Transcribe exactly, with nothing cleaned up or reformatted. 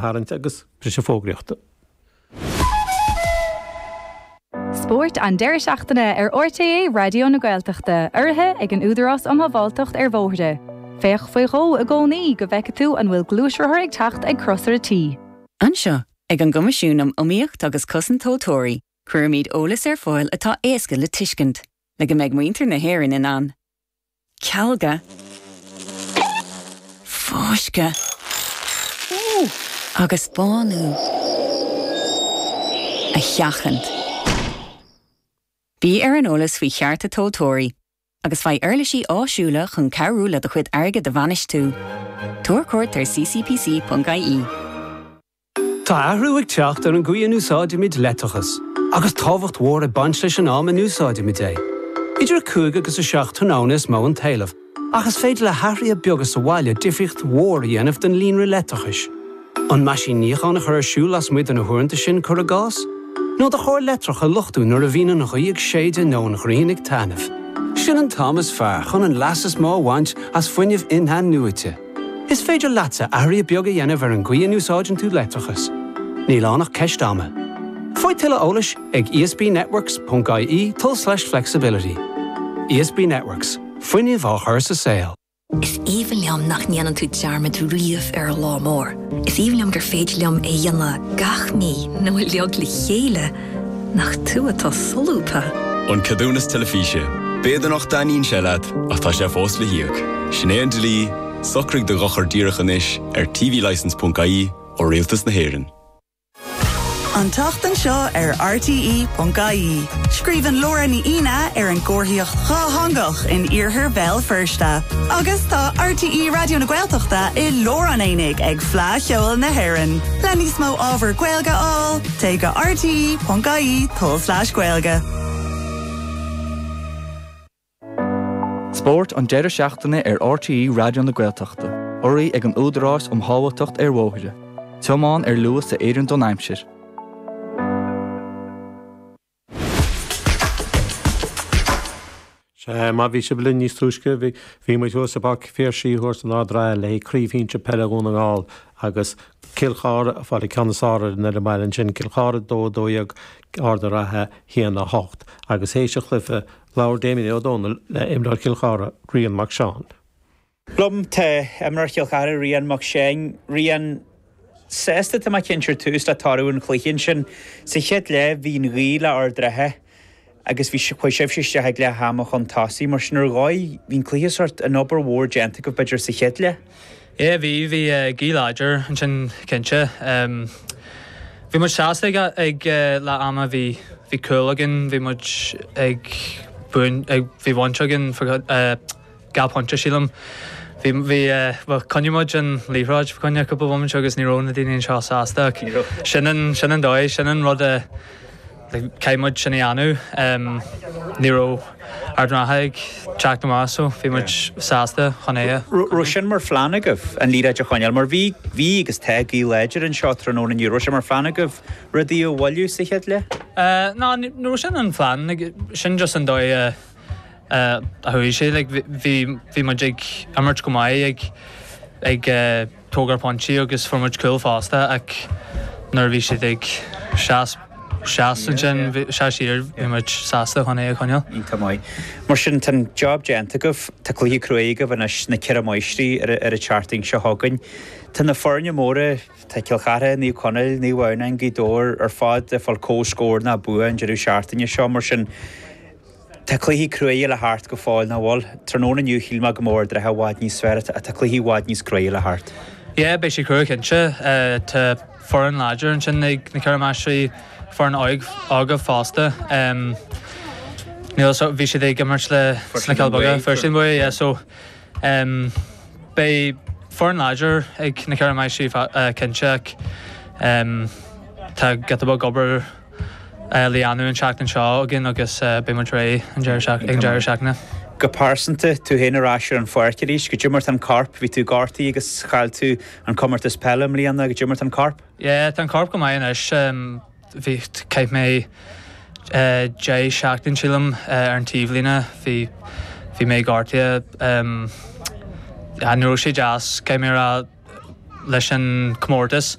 tharraingt agus briseadh fógraíochta. Spórt an deireadh seachtaine ar RTÉ Raidió na Gaeltachta, urraithe ag an Údarás um Shábháilteacht ar Bhóithre. Féach faoi dhó i gcónaí go bhfeice tú an bhfuil gluaisrothar ag teacht ag crosaire tí. Anseo ag an gCoimisiún um Iomaíocht agus Cosaint Tomhaltóirí, cuirimid eolas ar fáil atá éasca le tuiscint, le go mbeidh muintir na hÉireann in ann. Cealga. Fáisceadh. Agus bánú. A sheachaint. Bí ar an eolas faoi chearta tomhaltóirí, agus faigh uirlisí áisiúla chun cabhrú le do chuid airgid a bhainistiú. Tabhair cuairt ar ccpc.ie. Tá athrú ag teacht ar an gcaoi a n-úsáidimid leictreachas, agus tábhacht mhór ag baint leis an am a n-úsáidimid é. Idir cúig agus a seacht tráthnóna is mó an t-éileamh, ach is féidir le hathruithe beaga sa bhaile difríocht mhór a dhéanamh don líonra leictreachais. An meaisín níocháin a chur ar siúl lasmuigh de na huaireanta sin cuir i gcás? Nó do charr leictreach a luchtú nuair a bhíonn an ghaoth ag séideadh nó an ghrian ag taitneamh. Sin an t-am is fearr chun an leas is mó a bhaint as fuinneamh in-athnuaite. Is féidir leatsa athruithe beaga a dhéanamh ar an gcaoi a n-úsáideann tú leictreachas. Níl ann ach ceist ama. Faigh tuilleadh eolais ag esbnetworks.ie tulslais flexibility. ESB Networks, fuinneamh á chur sa saol. Is aoibhinn liom nach ndéanann tú dearmad riamh ar an lá mór. Is aoibhinn liom gur féidir liom é dhéanamh gach mí nó uilig le chéile nach tú atá solúbtha. An ceadúnas teilifíse. B'fhéidir nach dtaitníonn sé leat ach tá sé fós le híoc. Sin é an dlí, socraigh do dhochar díreach anois ar tvlicence.ie ó Rialtas na hÉireann. An tseachtain seo ar RTE.ie. Scríobhann Laura Ní Aoine ar an gcomharthaíocht dhátheangach in iarthar Bhéal Feirste. Agus tá RTE Raidió na Gaeltachta i lár an aonaigh ag Fleadh Cheoil na hÉireann. Le níos mó ábhar Gaeilge a fháil, téigh go RTE.ie tulslais Gaeilge. Spórt an deireadh seachtaine ar RTE Raidió na Gaeltachta, urraithe ag an Údarás um Shábháilteacht ar Bhóithre. Tiomáin ar luas a oireann don aimsir. Sea, má bhí sibh linn níos túisce, bhí bhí muid thuas i bPáirc Phiarsaigh thuas in Ard an Rátha le Craobh Shinsir Peile Dhún na nGall agus Cill Chartha ag fáil an ceann is fearr ar an fhoireann baile ansin, Cill Chartha dó dó dhéag Ard an Rátha haon a hocht. Agus théis an chluiche, labhair Damien Ó Dónaill le imreoir Chill Chartha, Rian Mac Seáin. Liom tá imreoir Chill Chartha Rian Mac Seáin. Rian, sásta tá mé cinnte ar tús le toradh an chluiche ansin. Sa chéad leath bhí an ghaoth le Ard an Rátha agus bhí chuaigh sibhse isteach ag leath ama chun tosaigh mar sin ar dhóigh bhí an cluiche sort an obair mhór déanta agaibh b'fhéidir sa chéad leath. Yeah, bhí bhí gaoth láidir ansin cinnte. Um, bhí muid sásta ag, ag leath ama bhí bhí cúl againn, bhí muid ag buan ag bhí baint againn uh, dhá phointe sílim. Bhí bhí uh, choinnigh muid an liathróid fá choinne cúpla bomaite agus ní raibh na daoine anseo sásta sin an sin an dóigh sin an rud a caithfidh muid sin a dhéanamh um, ní raibh Ard an Rátha ag teacht amach so bhí muid sásta chun é. Raibh sin mar phlean agaibh an liathróid a choinneáil mar bhí bhí agus tá gaoth láidir anseo tráthnóna inniu raibh sé mar phlean agaibh rudaí a bhailiú sa chéad leath? Uh, ná ní raibh sin an phlean sin just an dóigh uh, uh, a chuaigh sé like, bhí bhí muid ag imirt go maith ag ag uh, tógáil pointí agus fuair muid cúl fosta ach nuair bhí siad ag seas seas ansin se siar bhí muid sásta chun é a choinneáil. Iontach maith. Mar sin tá job déanta agaibh tá cluiche crua agaibh anois na Ceithre Máistrí ar ar an tseachtain seo chugainn. Tá na foirne móra tá Cill Chartha, Naomh Conaill, Naomh Adhamhnáin, Gaoth Dobhair ar fad ag fáil comhscór ná bua an deireadh seachtaine seo mar sin Tá cluichí crua le theacht go fóill nach bhfuil. Tráthnóna inniu shíl mé go mór i bhfad níos fearr tá cluichí i bhfad níos crua le theacht. Yeah, beidh sé crua cinnte tá foireann láidir ansin ag na Ceithre Máistrí foireann óg óga fosta. Um, Níl so bhí siad ag imirt le sna Cill Beaga Fuirsean Bua, yeah, so um, beidh foireann láidir ag na Ceithre Máistrí uh, cinnte ach um, tá giota beag obair uh, le déanamh an tseachtain seo againn agus uh, beidh muid réidh an deireadh seachtaine. Go pearsanta tú féin ar ais ar an pháirc arís, goidé mar tá an corp, bhí tú gortaithe agus chaill tú an comórtas peile i mbliana goidé mar tá an corp? Yeah, tá an corp go maith anois um, bhí chaith mé uh, deich seachtain sílim uh, ar an taobhlíne bhí bhí mé gortaithe um, ní raibh sé deas caithfidh mé rá leis an comórtas.